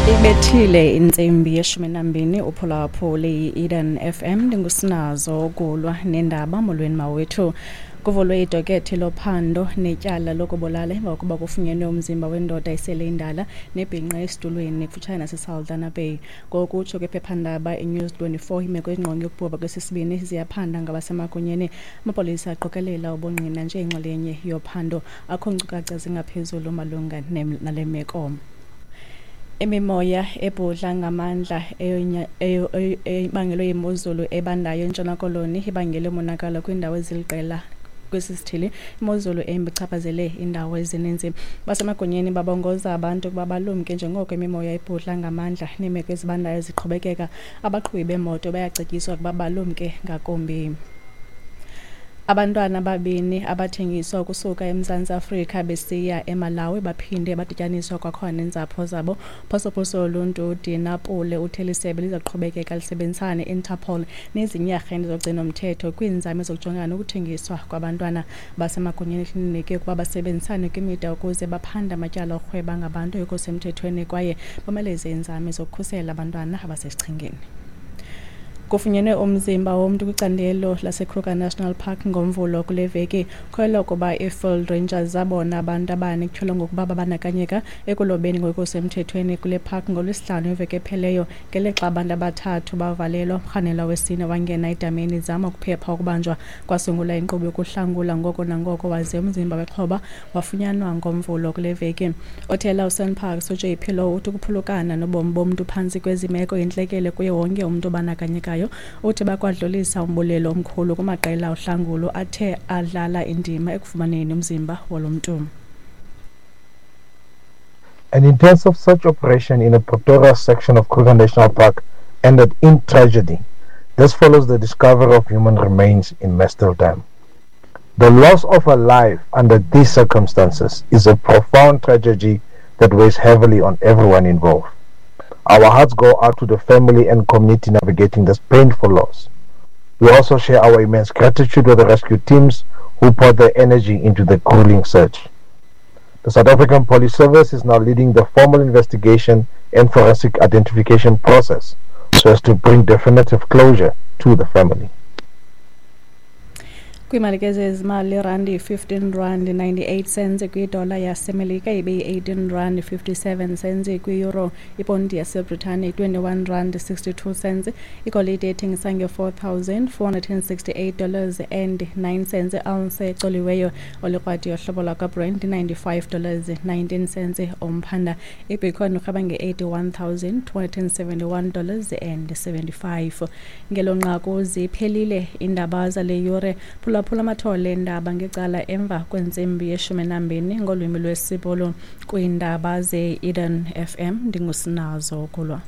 Ibethile intsimbi yeshumi nambini, uphulaphuli i-Eden FM. Ndingusinazo kulwa nendaba. Molweni mawethu. Kuvulwe idokethi lophando netyala lokubulala emva kokuba kufunyenwe umzimba wendoda esele indala nebhinqa esitulweni kufutshane naseSaldanha Bay. Ngokutsho kwephephandaba iNews 24, imeko engqonge ukubhubha kwesi sibini ziyaphanda ngabasemagunyeni. Amapolisa aqokelela ubungqina njengenxalenye yophando. Akho nkcukacha zingaphezulu malunga nale meko. Imimoya ebhudla ngamandla ebangelwe yimozulu ebandayo eNtshona Koloni ibangele umonakalo kwiindawo eziliqela kwesi sithili. Imozulu embi ichaphazele iindawo ezininzi. Basemagunyeni babongoza abantu ukuba balumke njengoko imimoya ibhudla ngamandla neemeko ezibandayo ziqhubekeka. Abaqhubi beemoto bayacetyiswa ukuba balumke ngakumbi. Abantwana ababini abathengiswa ukusuka eMzantsi Afrika besiya eMalawi baphinde badityaniswa kwakhona neentsapho zabo. Phosophoso woluntu uDina Pule uthe lisebe liza kuqhubekeka lisebenzisana ne-Interpol nezinye iiarhente zogcino-mthetho kwiinzame zokujongana nokuthengiswa kwabantwana. Basemagunyeni kulindeleke ukuba basebenzisane kwimida ukuze baphande amatyala okurhweba ngabantu angekho semthethweni kwaye bomeleze iinzame zokukhusela abantwana abasesichengeni. Kufunyenwe umzimba womntu kwicandelo laseKruger National Park ngoMvulo kule veki. Kholelwa ukuba ii-Field Rangers zabona abantu abane kutyholwa ngokuba babandakanyeka ekulobeni ngokusemthethweni kule park ngoLwesihlanu iveki epheleyo. Ngelixa abantu abathathu bavalelwa, umrhanelwa wesine wangena edameni ezama ukuphepha ukubanjwa. Kwasungulwa inkqubo yokuhlangula ngoko nangoko waze umzimba wexhoba wafunyanwa ngoMvulo kule veki. Othela uSANParks uJP Louw uthi ukuphulukana nobomi bomntu phantsi kwezi meko yintlekele kuye wonke umntu obandakanyekayo. Uthi bakwadlulisa umbulelo omkhulu kumaqela ohlangulo athe adlala indima ekufumaneni umzimba walo mntu. An intensive search operation in the Pretoria section of Kruger National Park ended in tragedy. This follows the discovery of human remains in Mestel Dam. The loss of a life under these circumstances is a profound tragedy that weighs heavily on everyone involved. Our hearts go out to the family and community navigating this painful loss. We also share our immense gratitude with the rescue teams who poured their energy into the grueling search. The South African Police Service is now leading the formal investigation and forensic identification process so as to bring definitive closure to the family. Kwiimali ke zezimali, irandi 15 rand 98 cents kwidola yaseMelika, ibe yi-18 rand 57 cents kwi-euro, iponti yaseBritane 21 rand 62 cents. Igolide ethengisa nge-$4,468 and 9 cents ounce ecoliweyo. Olikrwadi yohlobo lwakwaBrent $95 19 cents umphanda. Ibitcoin urhweba nge-$81,271 and 75. Ngelo nqaku ziphelile iindaba zale yure. Phulaphula amathole eendaba ngecala emva kwentsimbi yeshumi nambini ngolwimi lwesiBhulu kwiindaba ze-Eden FM. Ndingusinazo Kulwa.